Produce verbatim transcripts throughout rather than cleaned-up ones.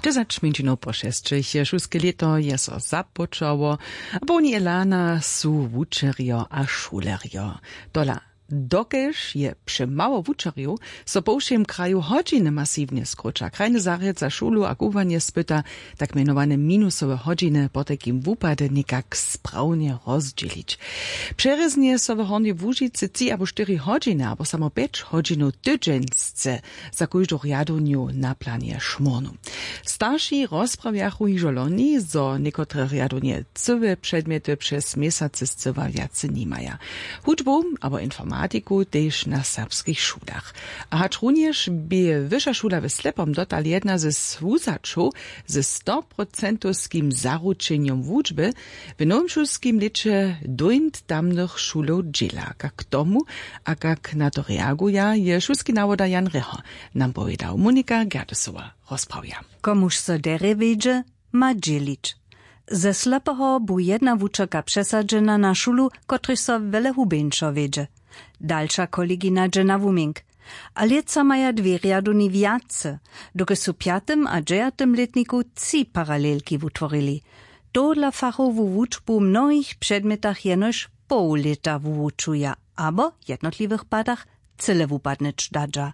Dźesać mjeńšinow po šesćich je šulske lěto je so započało, a połni elana su wučerjo a šulerjo. Tola, dokelž je přemało wučerjow, so po wšěm kraju hodźiny masiwnje skróća, krajny zarjad za šulu a kubłanje spyta, tak mjenowane minusowe hodźiny potajkim wupady někak sprawnje rozdźělić. Přerěznje so w hornjej łužicy tři abo štyri hodźiny abo samo pjeć hodźinow tydźensce za kóždu rjadownju na planje šmórnu. Starši rozprawjachu hižo loni, zo někotre rjadownje cyłe předmjety přez měsacy scyła wjace nimaja. Hudźbu abo informatiku tež na serbskich šulach. A hačrunjež bě wyša šula w slepom dotal jedna ze swuzaćow ze stoprocentowskim zaručenjom wučby, w nowym šulskim lěće dóńt tamnych šulow dźěla. Kak k tomu a kak na to reaguja, je šulski nawoda Jan Reho nam powědał. Monika Gerdesowa rozprawja. Komuž so derje wědźe, ma dźělić. Ze slepeho bu jedna wučerka přesadźena na šulu, kotryž so wjele hubjeńšo wědźe. Dalša kolegina dźe na wuměnk. A lětsa maja dwě rjadowni wjace, dokelž su w pjatym a dźewjatym lětniku tři paralelki wutworili. Tohodla fachowu wučbu w mnohich předmjetach jenož poł lěta wuwučuja abo w jednotliwych padach cyle wupadnyć dadźa.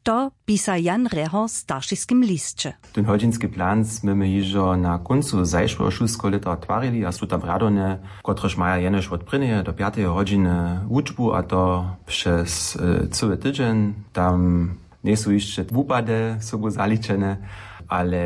To pisa Jan Reho w staršiskim lisće. Ten hodźinski plan smy my hižo na kóncu zašłeho šulskeho lěta twarili a su tam rjadowne, kotrež maja jenož wot prěnjeje do pjateje hodźiny wučbu, a to přez e, cyły tydźeń. Tam njejsu hišće wupady sobu zaličene, ale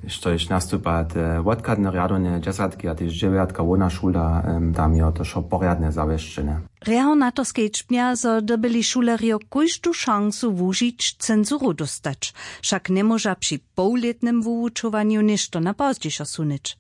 štož nastupa te wotchadne rjadowne dźesatki a tež dźewjatka hłowna šula, em, tam je to wšo porjadnje zawěsćene. Reho na to skedźbnja, zo dyrbyli šulerjo kóždu šansu wužić censuru dóstać, wšak njemóža při połlětnym wuwučowanju něšto na pozdźišo sunyć.